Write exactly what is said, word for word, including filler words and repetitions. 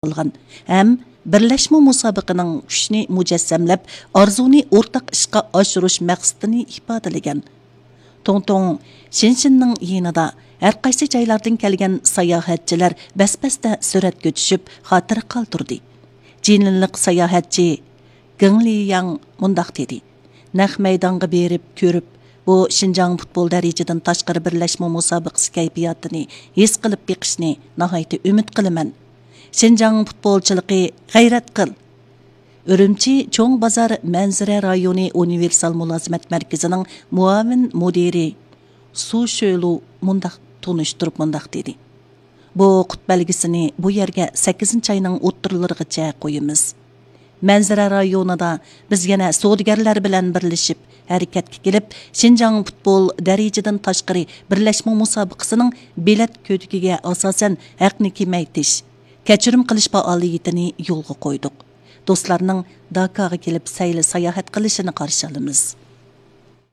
قىلغان ھەم بىرلەشمە مۇسابىقىنىڭ كۈچنى مۇجەسسەملەپ، ئارزۇنى ئورتاق ئىشقا ئاشۇرۇش مەقسىتىنى ئىپادىلىگەن. توڭتوڭ شېنشىننىڭ يېنىدا ھەر قايسى جايلاردىن كەلگەن ساياھەتچىلەر بەس-بەستە سۈرەتكە چۈشۈپ، خاتىرە قالدۇردى. جىنلىنلىق ساياھەتچى گېڭ لىياڭ مۇنداق دېدى: نەق مەيدانغا بېرىپ كۆرۈپ، بۇ شىنجاڭ پۇتبول دەرىجىدىن تاشقىرى بىرلەشمە مۇسابىقىسى كەيپىياتىنى ھېس قىلىپ بېقىشنى ناھايىتى ئۈمىد قىلىمەن. شىنجاڭ پۇتبولچىلىقى، غەيرەت قىل! ئۈرۈمچى چوڭ بازار مەنزىرە رايونى ئۇنىۋېرسال مۇلازىمەت مەركىزىنىڭ مۇئاۋىن مۇدىرى سۇ شۆلۇ مۇنداق تونۇشتۇرۇپ مۇنداق دېدى: بۇ قۇت بەلگىسىنى بۇ يەرگە سەككىزىنچى ئاينىڭ ئوتتۇرىلىرىغىچە قويىمىز. مەنزىرە رايونىدا بىز يەنە سودىگەرلەر بىلەن بىرلىشىپ ھەرىكەتكە كېلىپ، شىنجاڭ پۇتبول دەرىجىدىن تاشقىرى بىرلەشمە مۇسابىقىسىنىڭ بېلەت كۆتىكىگە ئاساسەن ھەقنى كېمەيتىش، كەچۈرۈم قىلىش پائالىيىتىنى يولغا قويدۇق. دوستلارنىڭ داكاغا كېلىپ سەيلە ساياھەت قىلىشىنى قارشى ئالىمىز.